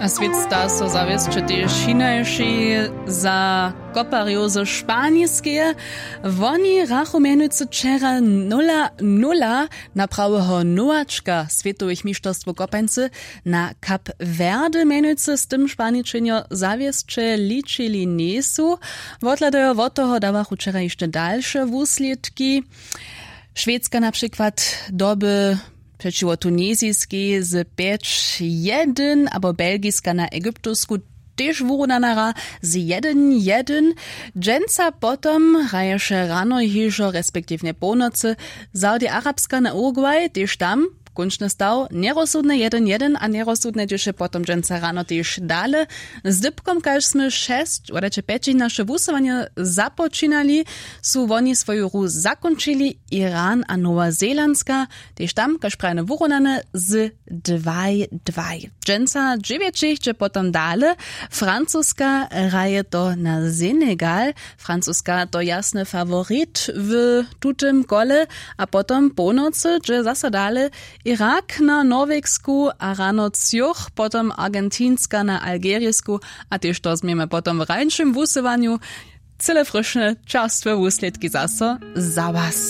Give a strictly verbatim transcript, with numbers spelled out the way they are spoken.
A swět sta so zawěsće tež hinaši za koparjow ze Španiskeje. Woni rachu mjenujcy wčera nula nula na praweho nowačka swětowych mišterstwow kopańcy na Kap Werde mjenujcy z tym Španičenjo zawěsće ličili njejsu. Wothladajo wot toho dawachu wčera hišće dalše wuslědki. Šwedska na přikład doby přećiwo Tuniziskej z pjeć jedyn abo Belgiska na Egyptowsku tež wurunana hra z jedyn jedyn. Dźensa potom hraješe rano hižo respektiwnje połnocy Saudi-Arabska na Uruguay, tež tam kónčny staw njerozsudne jedyn jedyn a njerozsudne dźěše potom dźensa rano tež dale. Z dypkom kaž smy šesć wodajće pjećich naše wusyłanje započinali, su woni swoju hru zakónčili. Iran a Nowa Zelandska tež tam kaž prajene wurunane z dwaj dwaj. Dźensa dźewjećich dźe potom dale. Francuska hraje to na Senegal. Francuska to jasny faworit w tutym kole. A potom połnocy dźe zaso dale Irak na Norwegsku a rano třoch potom Argentinska na Algerisku. A tež to změmy potom w rańšim wusyłanju. Cyle fryšne čerstwe wuslědki zaso za was.